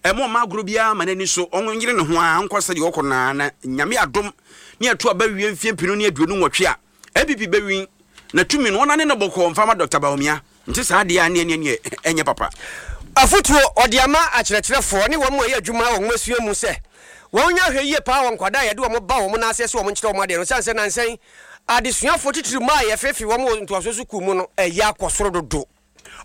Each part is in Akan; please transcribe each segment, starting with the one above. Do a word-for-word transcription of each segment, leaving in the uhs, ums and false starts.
Ɛmo ɔma agorɔ biara ma n'ani so, ɔnyere ne ho a nkɔ sɛdeɛ ɔkɔ naa na Nyame adom ne ɛto aba wie mfie mpinu ne aduonu nwɔtwe a N P P bɛwin na tumi no ɔnane no bɔkɔɔ mfa ma Doctor Bawumia. Nti saa deɛ a neɛ neɛ neɛ ɛnyɛ papa. Afotuo ɔde ama akyerɛkyerɛfoɔ ne wɔn mu a ɛyɛ adwuma wɔ nwomasua mu sɛ wɔn nya ahwɛ yie paa wɔ nkwadaa a yɛde wɔn ba wɔn nan ase sɛ wɔn nkyerɛ wɔn adeɛ no, sane sɛ nansɛn adesuafoɔ titiri mu a yɛfeefe wɔn wɔ ntoasoɔ sukuu mu no ɛyɛ akɔ soro dodo.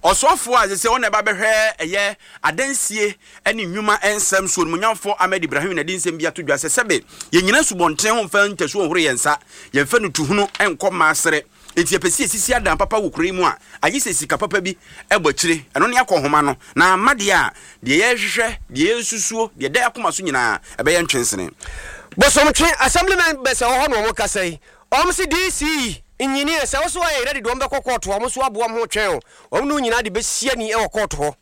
Ɔsɔfoɔ a sɛ ɔna ɛba bɛhwɛ ɛyɛ adansie ne nnwuma nsɛm so, Onimonyamfoɔ Ahmed Ibrahim, na de nsɛm bi ato dwa sɛ sɛbe yɛnyina subɔnten ho mfa ntasuo nhoro yɛn nsa, yɛmfa no tuhunu nkɔ mmaasere, nti yɛpɛ sɛ yɛsisi adan papa wɔ kuro yi mu a, agye sɛ sika papa bi ɛbɔ akyire. Ɛno ne akɔ nhoma no na ama deɛ a deɛ yɛhwehwɛ, deɛ yɛsusuo, deɛ da akoma so nyinaa ɛbɛyɛ ntwensene. Bosomtwe assemblyman bɛsɛ wɔ hɔ na wɔn kasa yi, wɔn si D C E nyini sɛ woso ayɛ ready de wɔn bɛkɔ court, wɔn nso aboa wɔn ho twɛn o, wɔn no nyinaa de bɛsia ni wɔ court hɔ.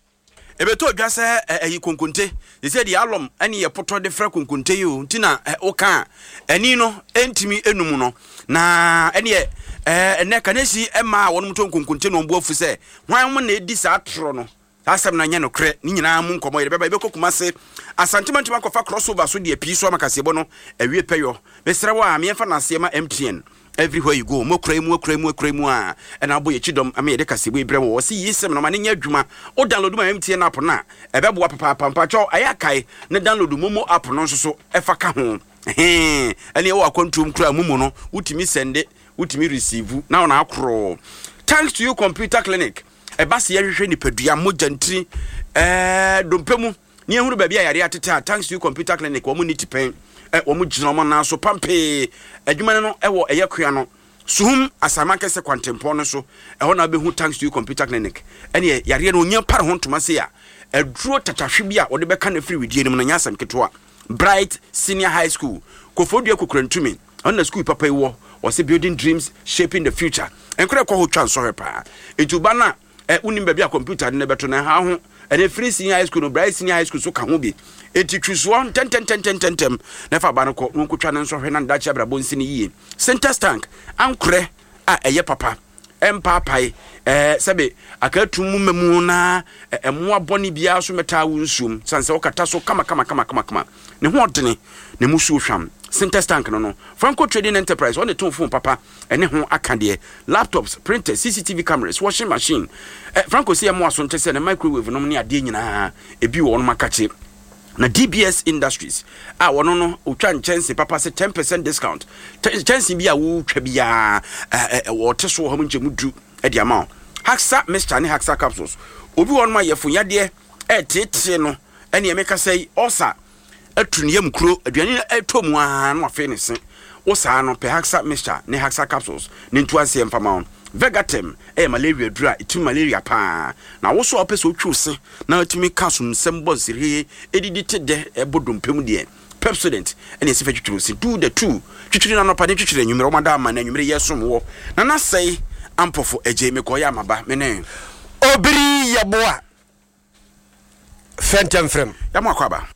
Ɛbɛtɔ dwa sɛ ɛyi konkonte sɛ sɛ deɛ alɔm ɛne yɛ potɔ de frɛ konkonte yi o, nti na woka a ɛni no ɛntumi enum no na ɛneɛ ɛnɛ kanesi ɛma a wɔnom tɔ nkonkonte na wɔn bu afu sɛ hwan mo na edi saa torɔ no. Saa asɛm no nyɛ nokorɛ. Ne nyinaa mu nkɔmmɔ yɛde bɛba. Yɛbɛkɔ Kumase, Asantema ntoma akɔfa crossover so deɛ pii so ama kaseɛbɔ no awie pɛyɔ. Mesrɛ wo a meɛmfa naseɛ ma M T N. Everywhere you go, mo akura mu, akura mu, akura mu a ɛna abɔ yɛkyi dɔm ama yɛde kaseɛbɔ yi brɛ wɔ. Wɔsi yi sɛm no ma ne nyɛ adwuma. O download ma M T N app no a, ɛbɛboa papaapa. Mpakyɛw, ɛyɛ akae ne download MoMo app no nso so ɛfa ka ho. Ɛne ɛwɔ akwantuom kura MoMo no, wotumi send, wotumi receive na wɔn akorɔ. Thanks To You Computer Clinic, ɛba sɛ yɛhwehwɛ nipadua, mogya, ntiri, ɛɛ dompe mu ne yɛhunu baabi a yare atete a, Thanks To You Computer Clinic, wɔn ni tipɛn ɛ wɔn gyina wɔn nan so pampee. Adwuma no ɛwɔ ɛyɛ kua no Suhum Asama Kɛsɛ kwantempɔn no so. Ɛhɔ na wobɛhu Thanks To You Computer Clinic. Ɛneɛ yareɛ no onyɛ pare ho ntoma se a aduro tatahwe bi a wɔde bɛka no afiri widie no mu no nyɛ asɛm ketewa. Bright Senior High School, Kofodua Kokurantumi, ɔno na school papa yi wɔ. Wɔsɛ building dreams, shaping the future. Nkora kɔ hɔ twa nsɔhwɛ paa, nti woba no a ɛ wonim baabi a computer no bɛto no ɛha ho. Ɛne free senior high school no, Bright Senior High School so ka ho bi. Enti twi soɔ ntɛntɛntɛntɛntɛm na ɛfa aba no kɔ na wɔnkɔtwa no nsɔhwɛ na ndakye abrabɔ nsi no yie. Sintex tank ankorɛ a ɛyɛ papa, ɛmpaapae, ɛɛ sɛbe akatum mu mmamu na ɛmoa bɔne biara so mɛtaa wo nsuom sane sɛ wokata so kama kama kama kama kama, ne ho ɔdene ne mu suo hwam. Sintex tank no no Franco Trading Enterprise, ɔne tɔn phone papa ɛne ho aka deɛ, laptops, printers, C C T V cameras, washing machine. ɛ Franco sɛ ɛmo aso nkyɛ sɛ ne microwave nom ne adeɛ nyinaa ebi wɔ wɔn akakye. Na D B S Industries a wɔno no otwa nkyɛnse papa sɛ ten percent discount, nkyɛnse bi a wotwa biara wɔte so wɔ hɔ mu nkyɛn mu du de ama wo. Haxa mixture ne Haxa capsules, obi wɔ nom a yɛfo yadeɛ ɛɛteetee no, ɛne ɛmeka sɛ yi ɔsa atu ne yam kuro, aduane ɛtɔ mu aa na wafei ne se wo saa no pɛ Haxa mixture ne Haxa capsules ne ntu aseɛ mfama wo. Vegatem ɛyɛ malaria duru a ɛtumi malaria paa, na wo so a wopɛ sɛ wotwi wo se na wotumi ka so nsɛm bɔ nsirihee ɛdidi te dɛ ɛbɔ dompe mu deɛ, Pepsodent ɛne ɛsɛ fɛ twitwiri wo se. Do the two twitwiri no anɔpa ne twitwiri anwummerɛ. Wɔmada ama na anwummerɛ yɛ som wɔ na nasɛe ampɔfo agye mekɔyɛ amaba me ne Obiri Yɛboa fɛntɛmfrɛm. Yɛmo akɔ aba.